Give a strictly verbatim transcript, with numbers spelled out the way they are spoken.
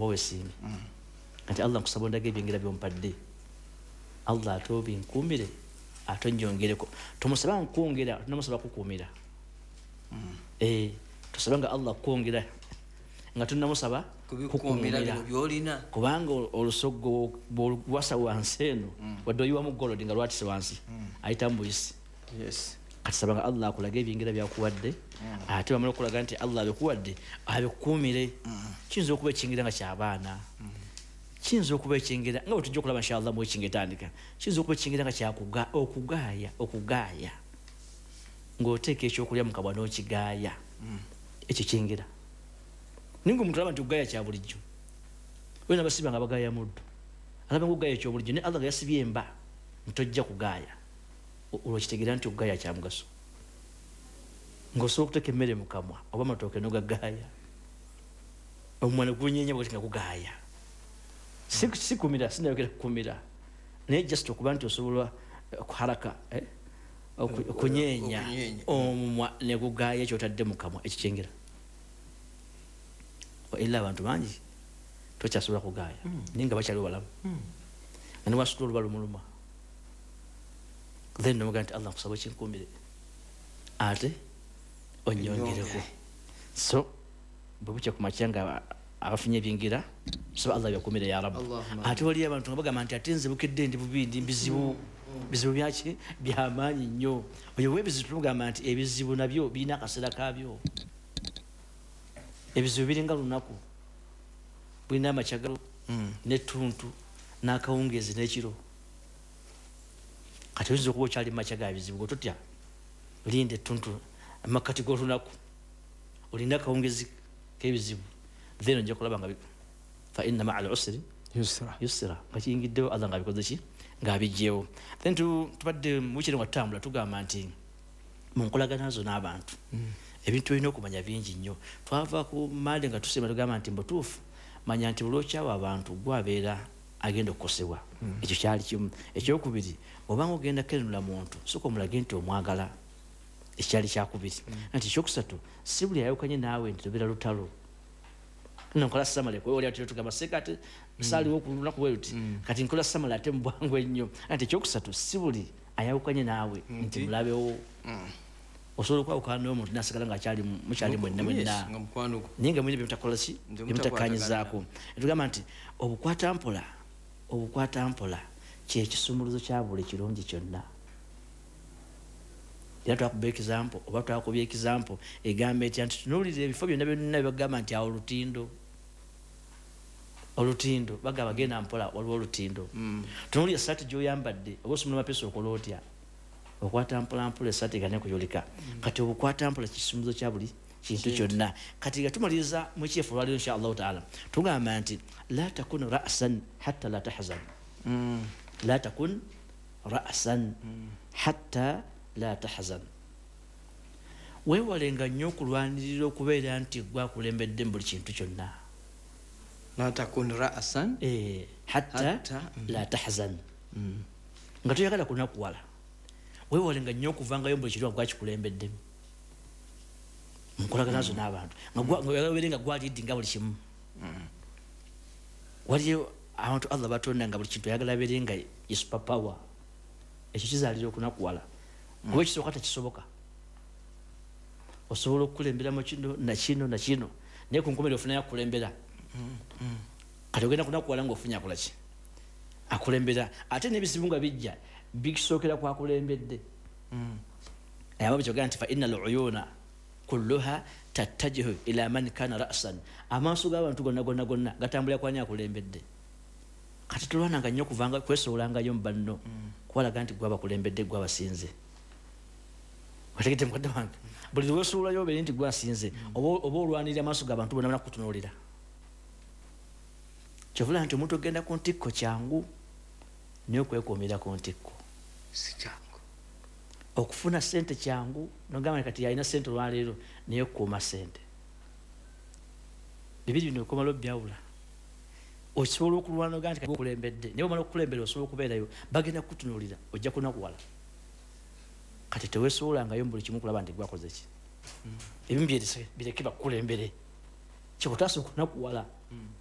Oba wesiimye kati, "Allah, nkusaba ondaga ebyengera byompadde, Allah, ate obinkuumire, ate onjongereko." Tomusaba nkwongera, tonamusaba kukuumira. Eh, tosaba nga Allah kwongera nga tonamusaba kubikuumira bino byolina. Kubanga olusoggo bwoluwasa wansi eno, wadde oyiwamu gold nga lwatise wansi, ayitamu buyisi. Yes kati saba nga Allah akulage ebyengera byakuwadde, ate bamala okulaga nti Allah abikuwadde, abikukuumire. Kiyinza okuba ekyengera nga kyabaana, kiyinza okuba ekyengera nga bwe tujja okulaba inshallah mu ekinga etandika, kiyinza okuba ekyengera nga kyakuga okugaaya okugaaya ng'oteeka ekyokulya mu kabwa n'okigaaya. Ekyo kyengera, naye nga omuntu alaba nti okugaaya kya bulijjo. Wena basiba nga bagaaya muddo, alaba nga okugaaya ekyobulijjo, naye Allah nga yasibye emba ntojja kugaaya, olwo kitegeera nti okugaaya kya mugaso. Ng'osobola okuteeka emmere mu kamwa oba amatooke nogagaaya, omumwa ne gunyenya bwati nga gugaaya. Si si kumira, sinayogera kukumira, naye just okuba nti osobola eh, kuharaka, eh, oku- okunyeenya Okunyeenya. omumwa ne gugaaya kyotadde mu kamwa, ekyo kyengera. Era abantu bangi tokyasobola kugaaya, naye nga bakyaliwo balamu, nga newasitula oluba lumuluma. Then nomugaa nti, "Allah, nkusaba okinkuumire ate onyongereko." So bwe bukya ku makya nga abafunye ebyengera, saba Allah byakumire ya Rabbi. Allahumma. Ate waliyo abantu nga bagamba nti, "Ate nze bukedde ndi bubi, ndi bizibu." Bizibu byaki? Byamaanyi nnyo. Oyo webizibu tumugamba nti ebizibu nabyo birina akaseera kabyo. Ebizibu biringa lunaku, bulina amakyagalo nettuntu n'akawungeezi n'ekiro. Kati oyinza okuba okyali mumakya ga bizibu, gwe totya, linda ettuntu, amakati g'olunaku, olina akawungezi k'ebizibu, then ojja kulaba nga bi- fa inna maa al usri yusra. Yusra. Nga kiyingiddewo, Allah nga abikoze ki? Ng'abijjewo. Then tu- tubadde mukiri nga tutambula, tugamba nti mu nkolagana zo n'abantu ebintu olina okumanya bingi nnyo. Twava ku mande nga tusimba, tugamba nti mbutuufu manya nti buli okyawa abantu gwabeera agenda okukosebwa. Ekyo kyali kimu. Ekyokubiri, obanga ogenda kenula muntu, soka omulage nti omwagala. Ekyali kyakubiri. Nti ekyokusatu, si buli ayawukanye naawe nti lubeera lutalo. Nno nkola summary oli ati tugamba seka ate saaliwo ku lunaku bwe luti, kati nkola summary ate mu bwangu ennyo. Nti ekyokusatu, si buli ayawukanye naawe nti mulabewo. Osobola okwawukana n'omuntu nasigala nga akyali mukyali mwenna mwenna, Yes, nga mukwano gwo. Naye nga mulina byemutakola ki? Nti Byemutakkanyizaako. Etugamba nti obukwata mpola, obukwata mpola kyekisumuluzo kya buli kirungi kyonna. Era twakuba example oba twakubya example egamba etya? Nti tunuulira ebifo byonna byonna byebagamba nti awo olutindo, olutindo, bagamba genda mpola, waliwo olutindo. Tunuulira esaati gyoyambadde oba osumula mapesa, okola otya? Okwata mpolampola esaati egane kuyulika. Kati obukwata mpola kisumuluzo kya buli kintu kyonna. Kati nga tumaliriza mu kyefu olwaliro insha Allahu taala, tugamba nti la takun rasan hatta la tahzan, la takun rasan hatta la tahzan. Weewalenga nnyo okulwanirira okubeera nti gwakulembedde mu buli kintu kyonna. La takun ra'san. Eh, hatta Hatta, mm. la tahzan, nga toyagala kunakuwala. Weewalenga nnyo okuvangayo mu buli kintu nga gwakikulembeddemu munkolagana zo n'abantu, nga gwa- nga oyagala obeere nga gwalidinga buli kimu. Waliyo abantu Allah batonda nga buli kintu ayagala abeere nga ye super power. Ekyo kizaalira okunakuwala, kuba ekisooka tekisoboka. Osobola okukulemberamu kino nakino nakino, naye ku nkomerero ofunayo akukulembera. Kati ogenda kunakuwala ngaofunye akolaki? Akulembera. Ate n'ebizibu nga bijja bikisookera kwakulembedde. Aba kyogera nti fa inna al uyuna kulluha tattajihu ila man kana rasan. Amaaso g'abantu gonna gonna gonna gatambulira kwani? Akulembedde. Kati tolwananga nnyo okuvanga kwesowolangayo mu banno kubalaga nti gwabakulembedde, gwabasinze. Otegedde, mukadde wange? Buli lwesoolayo obeere nti gwasinze, oba oba olwanirira amaaso g'abantu bonna banakutunuulira. Kyovula nti omuntu ogenda ku ntikko kyangu, naye okwekuumira ku ntikko si kyangu. Okufuna sente kyangu, nogamba nti kati yalina sente olwaleero, naye okukuuma sente, bibiri bino okomala obyawula. Osobola okulwana ogaa nti okulembedde, naye omala okukulembera osobola okubeerayo, bagenda kukutunuulira, ojja kunakuwala. Kati tewesobolangayo mu buli kimu kulaba nti gwakoze ki. Ebimu byerese, bireke bakukulembere, kikutaasa okunakuwala.